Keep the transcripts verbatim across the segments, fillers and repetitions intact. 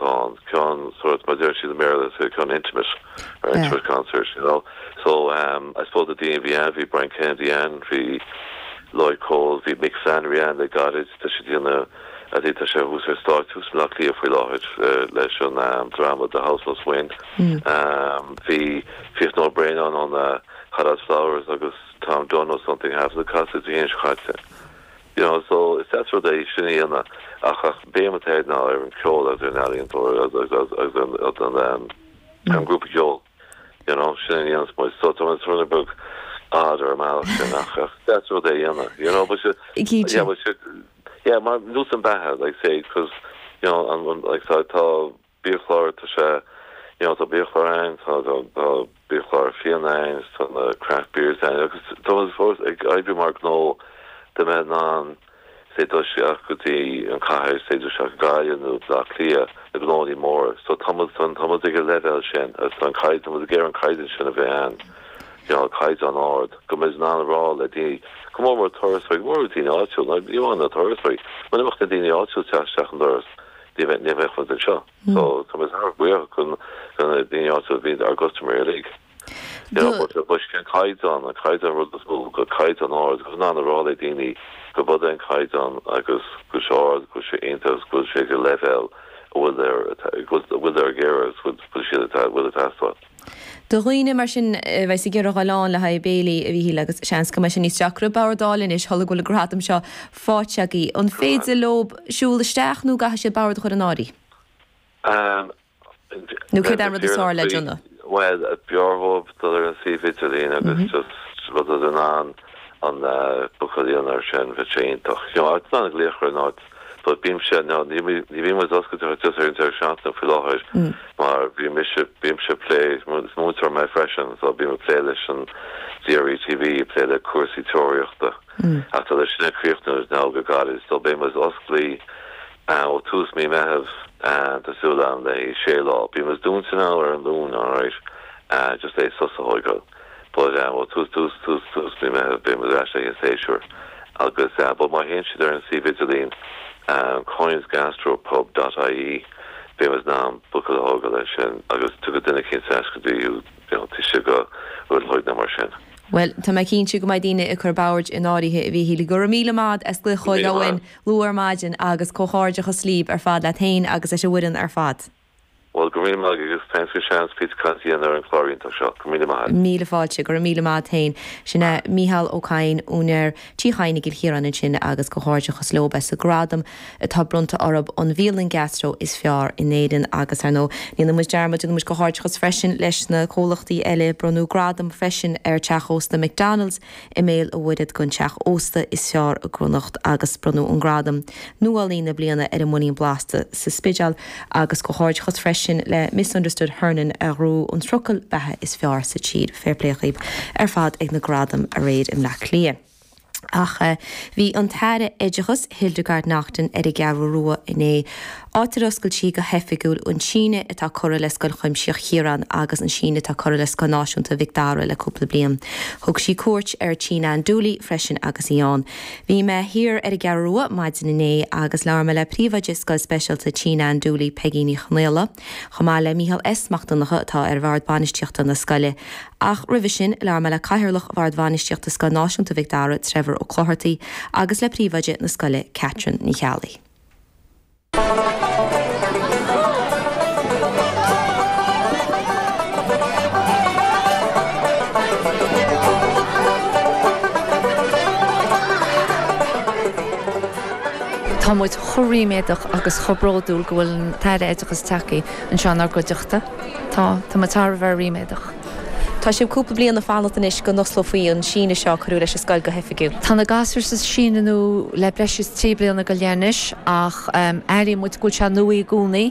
atá ann ceann sort mar deir siad i mBéarla ceann intimate or Yeah. intimate concert you know so um I suppose the daoine bhí ann bhí Brian Kennedy ann bhí Lloyd Cole bhí Mick Flannery ann le gairid tá sé déanamh a dí tá sé thuas ar stáitse thuas i mBleá Cliath faoi láthair uh, leis an um, drama The House Must Win Mm. um, bhí Fiachna Ó Braonáin on uh, Hot Flowers agus Tom Dunne or something half the casadh dhéon chaite. You know, so is that's rud é sin ina ach ach béim atá ná ar an ceol agus ar an ealaíontóir agus agus agus an an um, an grúpa ceoil. You know, sin an dhéanamh so tá an rud beag odd ar an mbealach sin ach ach that's rud é dhéanamh. You know, but Cinnte. yeah, but yeah, mar nós an beatha like say because you know an, an, like so tá biachlár tá sé you know tá biachlár ann tá tá tá biachlár fíon ann tá na craft beers ann agus tá fós ag oibriú mar gnó de mbeidh an sé dul isteach go dtí an cathair sé dul isteach Gaillimh nó Bleá Cliath na gnóthaí mór so tá san tá ag an leibhéal sin agus an caighdeán ag an caighdeán sin a bheith ann you know caighdeán ard go mbeidh an rá le daoine go mór mór turasóirí mór daoine áitiúil ní amháin na turasóirí mar nach na daoine áitiúil isteach an doras ní bheith ní bheith chun seo so tá mé thar buíoch chun chun na daoine áitiúil bhí ár gcustaiméirí uilig. You know, but but an caighdeán an caighdeán rud is mó go caighdeán ard go ná rá le daoine go bud an caighdeán agus go ard go sé iontach go sé go leibhéal bhfuil bhfuil ar géar bhfuil siad bhfuil teastáil. Do dhaoine mar sin bheith ag iarraidh dul ann le haghaidh béilí a Mhíchíl agus seans go mbeidh sé níos deacra bord a fháil anois sula bhfuil an gradam seo faighte agaibh. An féidir leo siúl isteach nó caithfidh siad bord a chur in áirithe? Um, Nó céard an rud is fearr le déanamh? Well b'fhearr dóibh dul ar an suíomh idirlín agus just rud an an an bookáil ar sin bheadh sé iontach. You know, it's not glaoch ar not but bímse no ní ní bhí muid oscailte just ar an deireadh seachtaine faoi láthair mar bhí mise bímse plé múinteoir mé freisin so bím ag plé leis an DRE TV plé le cúrsaí tóraíochta. Ach tá leis sin críochnaithe ná go gairid so beidh muid oscailte ó tús mí Meitheamh tá súil agam le sé lá. Bhí muid dúnta ná ar an Luan alright uh, just é sos a thógáil. But um, ó tús tús tús tús mí Meitheamh beidh muid ar ais ag an séasúr. Agus uh, but má théann siad ar an suíomh idirlín um, coinsgastropub.ie beidh muid in ann bookáil a thógáil leis sin agus tugadh duine cén go dtí you know, tí go rud na mar sin. Well tá mé cinnte go mbeidh daoine ag cur boird in áirithe a Mhíchíl go raibh míle maith as glaoch chugainn luath ar maidin agus comhghairdeachas libh ar fad leat féin agus leis an bhfoireann ar fad. Well go raibh maith agus thanks for seans píosa cainte a dhéanamh ar an chlár iontach seo go míle maith. Míle fáilte go raibh míle maith féin sinna Mícheál Ó Cadhain úinéir Tí Chadhain i gCill Chiaráin ansin agus comhghairdeachas leo as an gradam atá bronnta orthu an bhialann gastro is fearr in Éirinn agus ar ndóigh ní dhéanfaidh muid dearmad déanfaidh muid comhghairdeachas freisin leis na comhlachtaí eile bronnadh gradam freisin ar teach ósta McDonald's i mBéal an Mhuirthead don teach ósta is fearr i gConnacht agus bronnadh an gradam nuálaí na bliana ar an mBuilín Blasta sa Spidéal agus comhghairdeachas freisin le Misunderstood Hernan a ghnóthaigh an trucail beatha is fearr sa tír fair play dhaoibh ar fad ag na gradaim aréir i mBleá Cliath. Ach uh, bhí an tAire Oideachais Hildegarde Naughton ar an gCeathrú Rua inné. Áit ar oscail sí go hoifigiúil an síneadh atá curtha le Scoil Chuimsitheach Chiaráin agus an síneadh atá curtha le Scoil Náisiúnta Mhic Dara le cúpla bliain. Thug sí cuairt ar Tigh Nan Dooley freisin agus í ann. Bhí mé thiar ar an gCeathrú Rua maidin inné agus labhair mé le príomhoide Scoil Speisialta Tigh Nan Dooley Peggy Ní Chonaola, Chomh maith le Micheál S Mac Donncha atá ar bhord bainistíochta na scoile. Ach roimhe sin labhair mé le cathaoirleach bhord bainistíochta Scoil Náisiúnta Mhic Dara Trevor Ó Clochartaigh agus le príomhoide na scoile Catherine Ní Cheallaigh. Tá muid chomh ríméadach agus chomh bródúil go bhfuil an tAire Oideachais tagtha anseo inár gcuideachta. Tá tá muid thar a bheith ríméadach. Tá sé cúpla bliain ag fanacht anois go n-osclófaí an síneadh seo cuireadh leis an scoil go hoifigiúil. Tá na gasúir sa síneadh nua le breis is trí bliana go leith anois ach um, airíonn muid go bhfuil sé nua i gcónaí.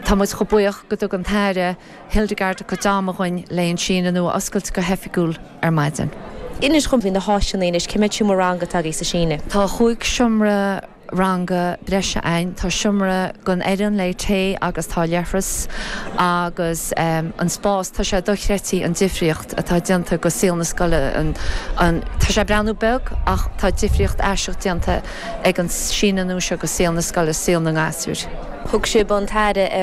Tá muid chomh buíoch go dtug an tAire Hildegarde a cuid ama dúinn le an síneadh nua a oscailt go hoifigiúil ar maidin. Inis dom faoi na háiseanna anois cé mhéad seomra ranga atá agaibh sa síneadh. Tá chúig seomra ranga breise ann tá seomra don fhoireann le tae agus tá leithreas agus um, an spás tá sé dochreidte an difríocht atá déanta go saol na scoile an, an, tá sé breathnú beag ach tá difríocht aisteach déanta ag an síneadh nua seo go saol na scoile saol na ngasúr. Thug sibh an tAire ar